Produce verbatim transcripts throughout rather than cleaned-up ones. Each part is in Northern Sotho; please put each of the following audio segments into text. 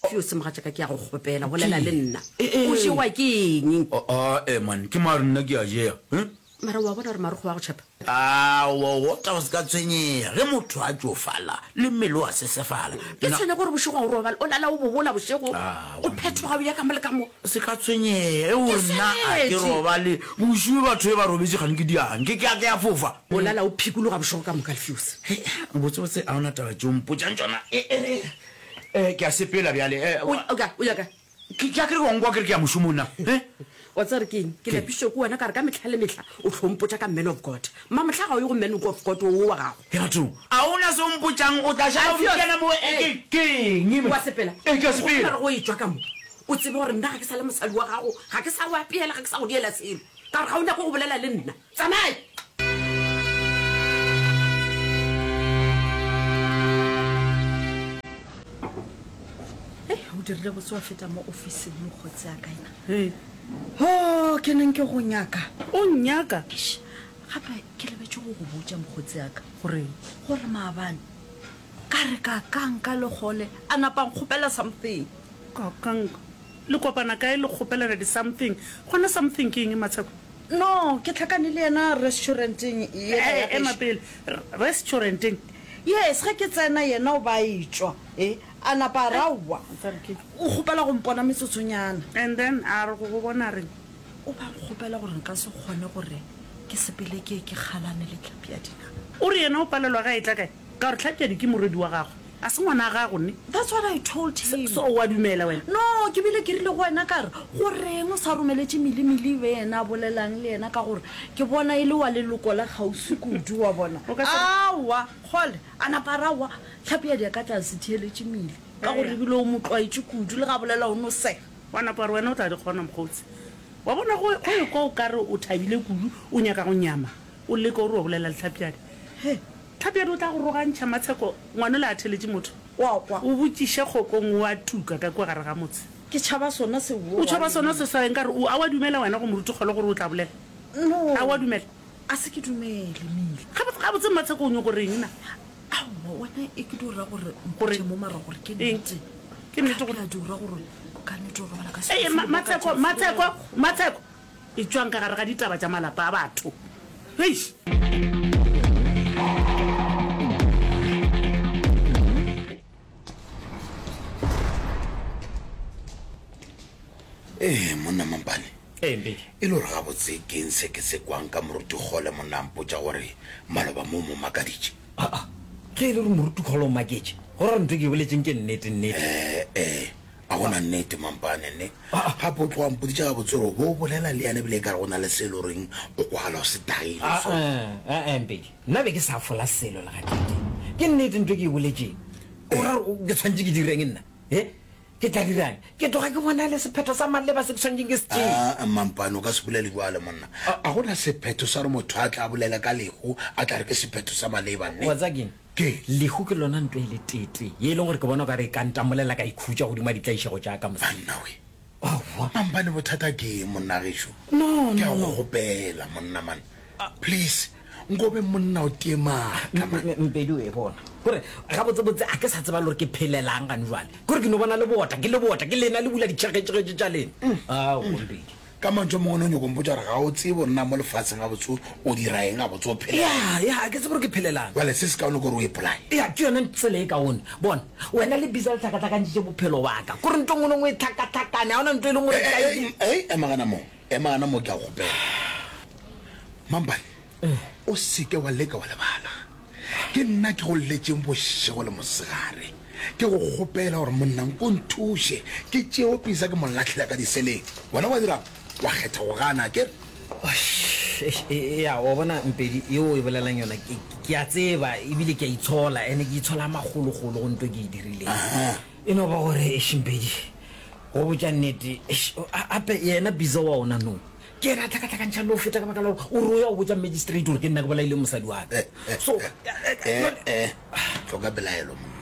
Alfios mogatšaka ke a go kgopela, bolela le nna. O jewa ke eng? Ae man, ke mare nna ke a jea. Mara o a bona gore marokgo a go tšhepa? Aowa, o tla o se ka tshwenyega. Ge motho a tšofala, le mmele o a sesefala. Ke tshwenya ke gore bošego ga o robale, o lala o bobola bošego, o phethoga o ya ka mo le ka mo. Se ka tshwenyega, ge o re nna a ke robale bošego, batho ge ba robetše kgane ke diang, ke ke a ke a fofa. O lala o phikologa bošego ka moka, Alfios. Hei, botsebotse ga o na taba tše o mpotšang tšona. E, e re, e, ke a sepela bjale. E, O, o kae? O ya kae? Ke, ke a ke re wa nkwa ke re ke ya mošomong na? He? Wa tseba gore ke eng? Ke lapišitšwe ke wena ka gore ka mehla le mehla o hlo mpotša ka man of God. Mamohla ga o ye go man of God wo wa gago. Ke bathong, a o na se o mpotšang? O tla šala o Alfios, kena mo? E, ee. ke, ke eng? O a sepela? Ee, ke a Gopola sepela. gore go etšwa ka mo, o tsebe gore nna ga ke sa le mosadi wa gago, ga ke sa go apeela, ga ke sa go diela selo, ka gore ga o nyake go bolela le nna. Tsamaya! Hei, o dirile botse wa feta mo ofising mokgotsi a ka ena. Hei. Ho, ke neng ke go nyaka. O nnyaka? Eish, gape ke lebetše go go botša mokgotsi a ka. Goreng? Gore maabane ka re ka kanka Lekgole a napa a nkgopela something. Ka kanka? Le kopana kae le kgopelana di something? Gona something ke eng Matsheko? No, ke hlakane le yena restauranteng yela ya Ema gešo. pele, restauranteng? Yes, ge ke tsena yena o ba a etšwa, e, a napa a re aowa, o kgopela go mpona metsotsonyana. And then a re go go bona a reng? O ba nkgopela gore nka se kgone gore ke sepele ke ye ke kgalane le Tlhapjadi na. O re yena o palelwa ge a etla kae? Ka gore Tlhapjadi ke morwedi wa gagwe, a se ngwana gago ne? That's what I told him. So o a dumela wena? No, ke bile ke rile go wena ka re, go reng o sa romeletše Milimili e be yena a bolelang le yena ka gore ke bona e le wa leloko la kgauswi kudu, wa bona. O ka se re. Aowa, kgole, a napa a re aowa, Tlhapjadi a ka tla se theeletše Mili ka gore ebile o mo tlwaetše kudu, le ge a bolela o no sega. Wa napa wa re wena o tla di kgona mokgotsi. Wa bona go, go ekwa o ka re o thabile kudu, o nyaka go nyama, o leka o re wa bolela le Tlhapjadi. He! Tlhapjadi o tla go rogantšha Matsheko, ngwanola a theletše motho. Wa kwa. O botšiše Kgokong o a tuka ka kua gare ga motse. Ke tšhaba sona seo O tšhaba sona se sa eng? Ka re o, a wa dumela wena go Moruti Kgole gore o tla bolela? No. A wa dumela? A se ke dumele, Mili. Gabotse, gabotse Matsheko o nyoko reng na? Aowa, wena e ke dio ra gore Gore mpotše mo mara gore ke eng? nnete. Ke nnete gore. Tlhapjadi o ra gore ka nnete o robala ka Ee, setofo Ma, le mo ka Matsheko, tšatši le Matsheko, lengwe? Matsheko! Etšwang ka gare ga ditaba tša malapa a batho. Eish! Ee, monna Mampane. Ee, Mpedi. E le gore gabotse ke eng se ke se kwang ka Moruti Kgole monna a mpotša gore maloba mo o mo makaditše? Aa, ge e le gore Moruti Kgole o maketše, go ra gore ntho e ke e boletšeng ke nnete, nnete. Ee, ee, a go na nnete Mampane, ne? Gape o tloga mpoditše gabotse gore o be o bolela le yena ebile ekare go na le se e le goreng o kwagala o se tagile so. Aa, aa, Mpedi, nna be ke sa fola selo le gateetee. Ke nnete ntho e ke e boletšeng. O ra gore ke swanetše ke direng nna? He? Ke tla dirang? Ke tloga ke bona le sephetho sa maleba se ke swanetšeng ke se tšee. Aa, Mampane, o ka se bolele bjalo, monna. A go na sephetho sa gore motho a tla bolele ka lehu a tla re ke sephetho sa maleba, ne? Wa tseba ke'ng? Ke. Lehu ke lona nto e le tee-tee ye e leng gore ke bona o ka re e ka ntamolela ka ikhutša godimo ga ditlaišego tša ka, mosadi. Banna we. Aowa. Mampane bothata ke eng monna gešo? No, Ke a no, go no. kgopela monna man. Please, nko be monna o tie maatla man. Mpedi o e bona. Gore gabotsebotse a ke sa tseba le gore ke phelelang gane jwale. Ke gore ke no bona lebota, ke lebota, ke lena le bula ditšhegetšhegetše tša lena. Aowa Mpedi. Ka mantšu a mangwe, o nyako mpotša gore ga o tsebe gore na mo lefaseng gabotse o dira eng, gabotse o phelela Ya, eng. ya, ga ke tsebe gore ke phelelang. Bjale se sekaone ke gore o ipolaye. Ya, ke yona tsela e kaone. Bona, wena le Bisa le hlakahlakantšitše bophelo ba ka. Kore ntho e nngwe le nngwe e hlakahlakane, ga go na ntho e leng gore nka e Ei, ei, ema gana mo, ema gana mo, ke a go kgopela. Mampane, o se ke wa leka wa lebala. Ke nna ke go lletšeng bošego le mosegare, ke go kgopela gore monna nko nthuše ke tšeo Pisa ke mo lahlela ka diseleng. Wena wa dirang? Wa kgetha go gana, akere? Eya, wa bona Mpedi, yeo o e bolelang yona ke, ke a tseba ebile ke a itshola, ene ke itshola magologolo go nto ke e dirileng. E no ba gore, eish Mpedi, go botša nnete, eish, gape yena Bisa wa ona no, Ke yena a hlakahlakantšha le go feta ka baka la gore o re o ya go botša magistrate gore ke nna ke bolaileng mosadi wa ka. So, Eh, eh, hloka pelaelo monna.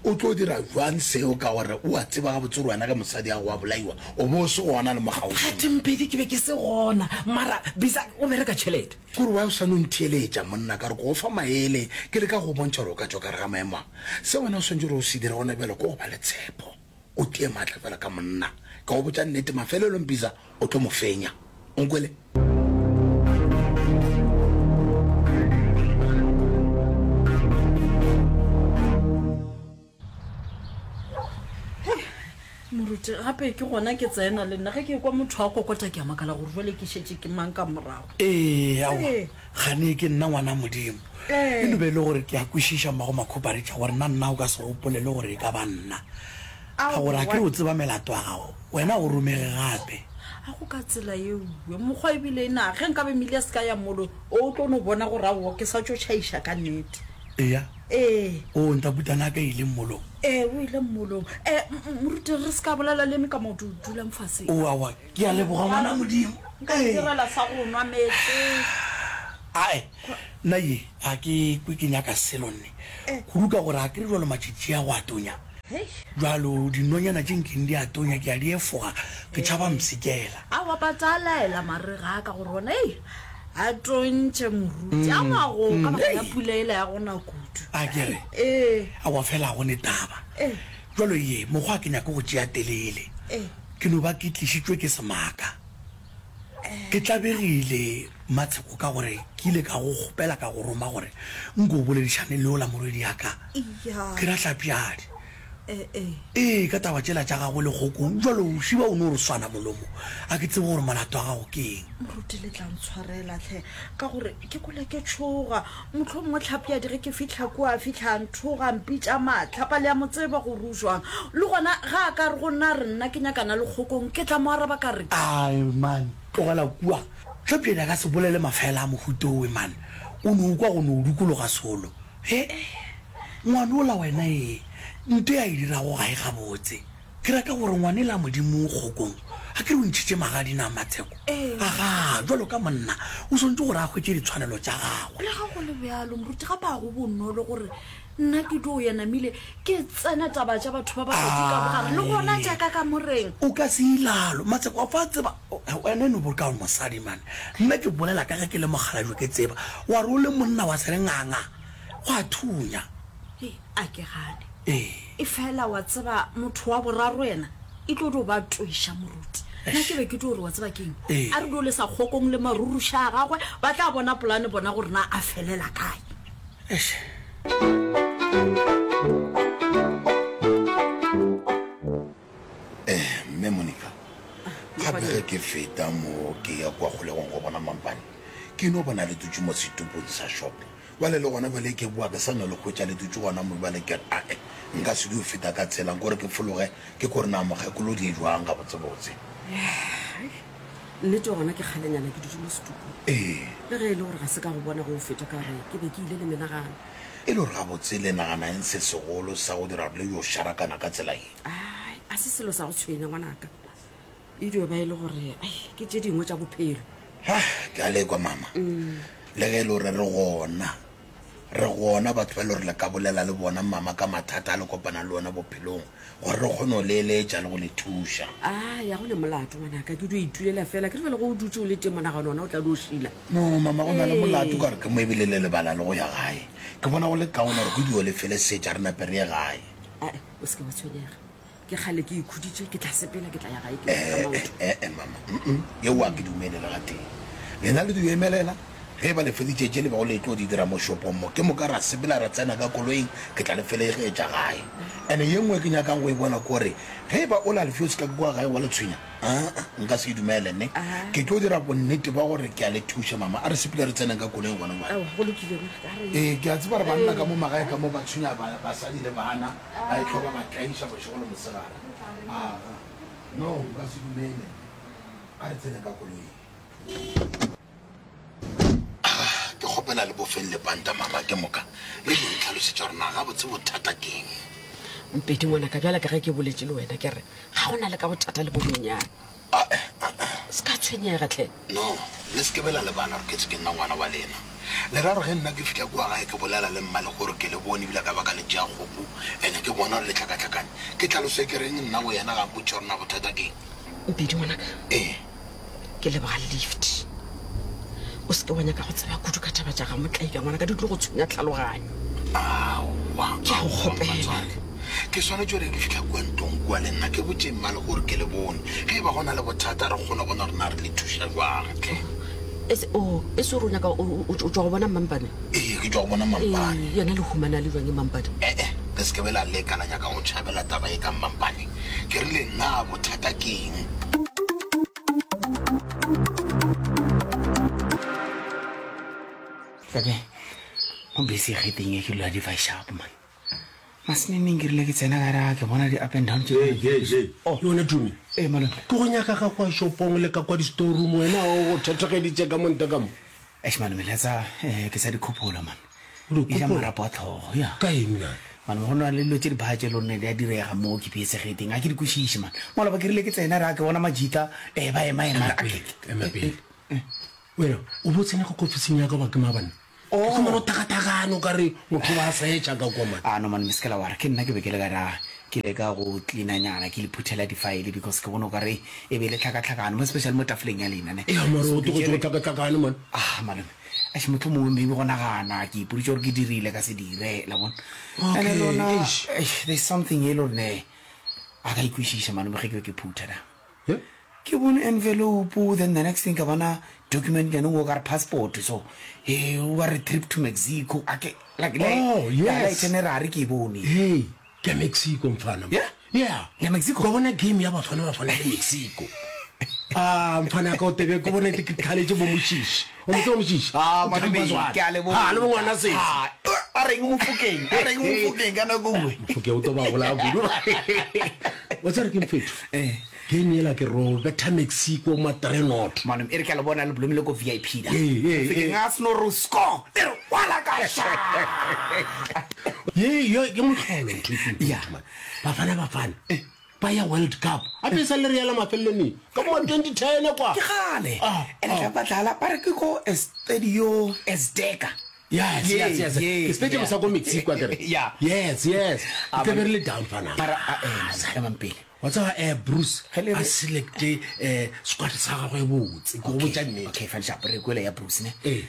O tlo dira jwang seo ka gore o a tseba gabotse gore wena ge mosadi ya gago a bolaiwa o be o se gona le mo kgauswi? Phathe Mpedi ke be ke se gona mara Bisa o bereka tšhelete. Ke gore why o sa no ntheeletša monna ka gore ke go fa maele ke leka go go bontšha gore o ka tšwa ka gare ga maemo a. Se wena o swanetše gore o se dire gona bjale ke go ba le tshepo. O tie maatla fela ka monna. Ka go botša nnete, mafelelong Bisa o tlo mo fenya. O nkwele? Moruti, gape ke gona ke tsena le nna ge ke kwa motho a kokota ke a makala gore jwale ke šetše ke mang ka morago. Ee, aowa, Ee. gane ke nna ngwana Modimo. Ee. E no be e le gore ke a kwešiša mmago Makhuparetša gore na nna o ka se gopole le gore e ka ba nna. Ka gore a ke re o tseba melato ya gago, wena o romege gape. A go ka tsela yeo, mokgwa ebile na ge nkabe Mili a se ka ya molo, o tlo no bona gore aowa ke sa tšo tšhaiša ka nnete. Eya. Ee. O, Ntaputana a ka ile mmolong. Ee, o ile mmolong. Ee, moruti, re se ka bolela le eme ka maoto, dulang fase. O, aowa, ke a leboga ngwana Modimo. Nka itirela sa go nwa meetse. Ae, nna ye ga ke kwe ke nyaka selo nne. Kudu ka gore ga ke re jwalo matšatši a go a tonya. Jwalo dinonyana tše nkeng di a tonya, ke a di efoga, ke tšhaba mpshikela. Aowa, ba tla laela marega a ka gore ona, ei, a tontše moruti. A ngwago ka baka la pula yela ya go na kudu. A ke re, Ee. Aowa, fela ga go ne taba. Ee. Jwalo ye, mokgwa ga ke nyake go tšea telele. Ee. Ke no ba ke tlišitšwe ke semaka. Ke tlabegile Matsheko ka gore ke ile ka go kgopela ka go roma gore nko o boledišane le yola morwediaka. Eya. Ke ra Hlapjadi. Ee, ee. Ee, ka taba tšela tša gagwe le Kgokong. Bjalo o šiba o no re swana molomo. A ke tsebe gore molato wa gago ke eng. Moruti le tla ntshwarela hle, ka gore ke kwele ke tšhoga. Mohlomongwe Hlapjadi ge ke fihla kua a fihla a nthoga, a mpitša mahlapa, le a mo tseba gore o jwang. Le gona ge a ka re go nna a re nna ke nyakana le Kgokong, ke tla mo araba ka reng? Ai man, tlogela kua. Hlapjadi a ka se bolele mafela a mohuta owe man. O no kwa go no dukologa solo. He? Ngwana ola wena ee, nto e a e dirago ga e gabotse. Ke rata gore ngwanela Modimo Kgokong a ke re o ntšhitše magadi na Matsheko? Agaa, bjalo ka monna o swanetše gore a hwetše ditshwanelo tša gagwe. Lega go le bjalo, moruti, gape ga go bonolo gore nna ke dio ya namile ke tsena taba tša batho ba babedi ka bogare, le gona Ai. tša ka kamoreng. O ka se ilalo, Matsheko, wa fa tseba, wena e no bo ka gore mosadi man. Nna ke bolela ka ge ke le mokgalabje ke tseba, wa re o le monna wa se re nganga, go a thunya. Hei, a ke gane. Ee. Efela wa tseba, motho wa boraro yena e tlo dio ba toiša moruti. Nna ke be ke tlo re, wa tseba keng? Ee. A re dio lesa Kgokong le maruruša a gagwe, ba tla bona polane bona gore na a felela kae. Eish. Eh, Mme Monica, gape ge ke feta mo ke ya kwa kgolegong go bona Mampane, ke no bona le dutše mo setupong sa shop. Bjale le gona bjale ke boa ke sa no le hwetša le dutše gona mo, bjale ke re, Ae, nka se dio feta ka tsela, nkore ke fologe ke kore na mokgekolo di jwang gabotsebotse. Hai, nnete gona ke kgalenyana ke dutše mo setupong. Ee. Le ge e le gore ga se ka go bona ge o feta ka re ke be ke ile le menagano. E le gore gabotse le nagana eng se segolo sa go dira gore le yo šarakana ka tsela ye? Ai, a se selo sa go tshwenya ngwanaka. E dio ba e le gore, ai, ke tše dingwe tša bophelo. Ha, ke a lekwa mama. Le ge e le gore re gona, re gona batho ba e le gore le ka bolela le bona mama ka mathata a le kopana le ona bophelong, gore re kgone go le eletša le go le thuša. A ya go ne molato ngwanaka, ke dio itulela fela, ke re bjale ge o dutše o le teng monagano ona o tla dio šila. No mama, go na le molato ka gore ke mo ebile le lebala le go ya gae. Ke bona go le kaone gore ke dio le felesetša re nape re ye gae. Ae, o se ke wa tshwenyega. Ke kgale ke ikhuditše, ke tla sepela, ke tla ya gae ke ka Eh, maoto. eh, eh, mama, mm-mm, yeo a ke dumele le gatee. Lena le dio emelela, ge e ba le feditše tše le bego le tlo di dira mo shopong mo, ke moka ra sepela ra tsena ka koloing, ke tla le felegetša gae. And-e ye nngwe ke nyakang go e bona ke gore ge e ba o la lefio se ka kua gae wa le tshwenya, aa, nka se e dumele ne. Ke tlo dira bonnete ba gore ke a le thuša mama. A re sepele re tseneng ka koloing gona bjale. Aowa, go lokile ngwanaka, a re. Ee, ke a tseba gore banna ka mo magae ka mo ba tshwenya ba, basadi le bana, ba ehlwa ba ba tlaiša bošego le mosegare. Aa, no, nka se dumele. A re tseneng ka koloing. Ke kgopela le bofeng lepanta mama, ke moka le di ntlhalosetša gore na gabotse bothata ke eng. Mpedi ngwanaka, bjale ka ge ke boletše le wena ke re ga go na le ka bothata le bo bonyenyane. Ah, eh, ah, ah. Se ka tshwenyega tlhe. No, le se ke be la lebala gore ke tse ke nna ngwana wa lena. Le ra gore ge nna ke fihla kua gae ke bolela le mma le gore ke le bone ebile ka ba ka le tšea kgopu ene ke bona gore le tlhakatlhakane, ke tlhaloso ke reng nna go yena ga mpotše gore na bothata ke eng. Mpedi ngwanaka. Ee. Ke leboga lift. O se ke wa nyaka go tseba kudu ka taba tša ga Motlaika ngwanaka, di tlo go tshwenya tlhaloganyo. Aowa, Ke a go aowa, kgopela. mmatswale. Ke swanetše gore ke fihla kua ntlong kua le nna ke botše mma le gore ke le bone. Ge e ba go na le bothata re kgone bona gore na re le thuša jwang hle. E se, oh, e se gore o nyaka, o, o, o tšwa go bona Mmampane? Ee, ke tšwa go bona Mmampane. Ee, yena le humana le jwang Mmampane? E-e, le se ke be la leka la nyaka go tšhabela taba ye ka Mmampane. Ke rile, Na bothata ke eng? Tlebe, mo bese e geteng e ke dula di fa sharp man. Maseneneng ke rile ke tsena ka ra ke bona di up and down tše. Hey, hey, hey. Oh. Le wena Tumi. Ee, malome. Ke go nyaka ka kwa shopong le ka kwa di-storeroom wena o go thethegeditše ka mo ntle ka mo. Eish malome, letsa eh, ke sa di khopolo man. O di E ja khopola? marapo a tlhogo, ya. Ka eng na? Malome, go na le dilo tše di bha tše le gore di a direga mo ke piesegeteng, ga ke di kwešiše man. Maloba ke rile ke tsena ra ke bona majita eh ba ema ema. Ema pele, ema pele. Wena o bo tsena ka kofising ya ka ba ke maabane? Ke fumana o takatakane o ka re motho ba searcha ka kwa man. Ah no man, me seke la wara, ke nna ke be ke le ka ra ke leka go cleaner nyana ke le phuthela di file because ke bone o ka re e be le tlhakatlhakano mo especially mo tafoleng ya lena ne. Ea mara So o ke tlogetše go tšere tlhakatlhakane man. Ah malome, eish mohlomongwe maybe go nagana ke ipoditše gore ke dirile ka se dire la bona. And Okay, lona eish. eish there's something e le gore ne a ka ikwešiša malome ge ke be ke phutha da. Yeah? Ke bone envelope then the next thing ka bona document nyane o ka re passport so eh o ka re trip to Mexico a ke like le Oh, ya yes. itinerary ke e bone. Hey, ke ya Mexico mfana. Yeah? Yeah. Ya Mexico? Ka bona game ya Bafana Bafana le Mexico. Ah, mfana ka o tebe ke bone ke tlhaletše bo Moshishi. O mo tseba Moshishi? Ah, O malome, thampa jwale. ke a leboga. Ah, le bo ngwana sesi. Ah, a reng Mofokeng? A reng Mofokeng ka nako nngwe? Mofokeng o tlo ba bolaya kudu. Wa tseba re ke mfetho? Eh. Game yela ke ro betha Mexico ma three not. Malome, e re ke a le bona le blomile ko V I P da. Ee, ee, Mofokeng ee. a seno re score, e re wala ka sha. Ye, ye, ke mohlolo ntho e ke Yeah. mfetho, man. Bafana Bafana. Ba ya World Cup. Gape e sa le re yela mafelelong ka mo twenty ten kwa. Ke kgale. Ah, Ene ah. tla ba dlala ba re ke ko Estadio Azteca. Yes, Yeah, yes, yes. yeah, Ke stadium yeah. sa ko Mexico akere. Yeah. Yes, yes. Ah, Ke man. be re le down fana. Mara, ah, eh, man, emang pele. Wa tseba, eh, Bruce, Ge le re- a selecte, eh, squad sa gagwe botse, ke go botša nnete. Okay, fine, sharp, re kwele ya Bruce, ne? Ee.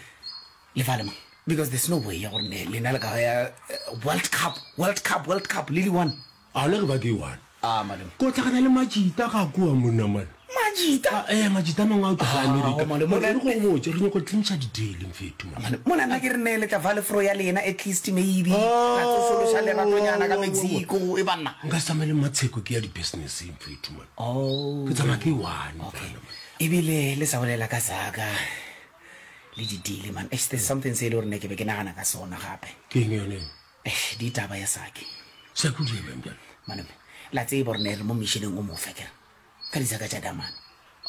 Le fale mang? Because there's no way ya gore ne, lena le ka ya, eh, World Cup, World Cup, World Cup, le di one. A le re ba ke one. Ah, malome. Ko tlhakana le Majita ga kua monna, man. Majita? Ah, eh, Majita a mangwe a tloga Ah, America. malome, Mara mona- re go botše, re nyaka go clincha di-deal, mfetho, man. Malome, mona nna ke re ne le tla fa lefro ya lena at least maybe. Oh, La tsosološa leratonyana ka oh, oh, oh, oh. Mexico, e banna. Nka se tsamaye le Matsheko ke ya di-business, mfetho, man. Oh. Ke tsamaya ke one, Okay. mfana, man. Ebile le sa bolela ka zaka le di-deal, man. Eish, there's something se e le gore ne ke be ke nagana ka sona gape. Ke eng yone eo? Eish, ditaba ya Saki. Saki o di ebang bjale? Malome, la tseba gore ne re mo missioneng o mofe kere ka ditsaka tša damane.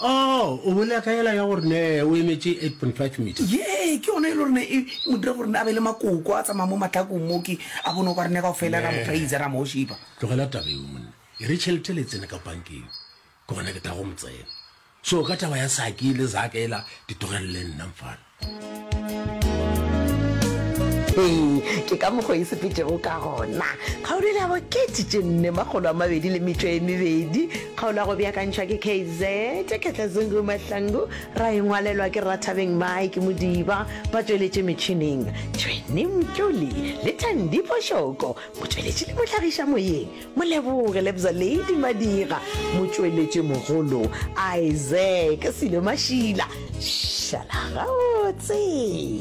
Oh, o bolela ka yela ya gore ne o emetše eight point five meter. Ye, ke yona e le gore ne e mo dira gore ne a be le makoko a tsamaya mo matlakong mo ke a bone o ka re ne kaofela ra mo praise ra mo shipa. Tlogela taba eo monna. E re tšhelete le tsene ka bankeng. Ke gona ke tla go mo tsena. So ka taba ya Saki le Zaka ela di tlogelele nna mfana. Ee, ke ka mokgwa e sepetšego ka gona. Kgaolo ya bokete tše nne makgolo a mabedi le metšo e mebedi. Kgaolo ya go beakantšhwa ke K Z Ketla Zungu Mahlangu, ra e ngwalelwa ke Rathabeng Mike Modiba, ba tšweletše metšhineng Tšhwene Mtšoli le Thandi Phošoko, motšweletši le mohlagiša moyeng Moleboge Lebza Lady Madira, motšweletši mogolo Isaac Silo Mašila. Šala gabotse.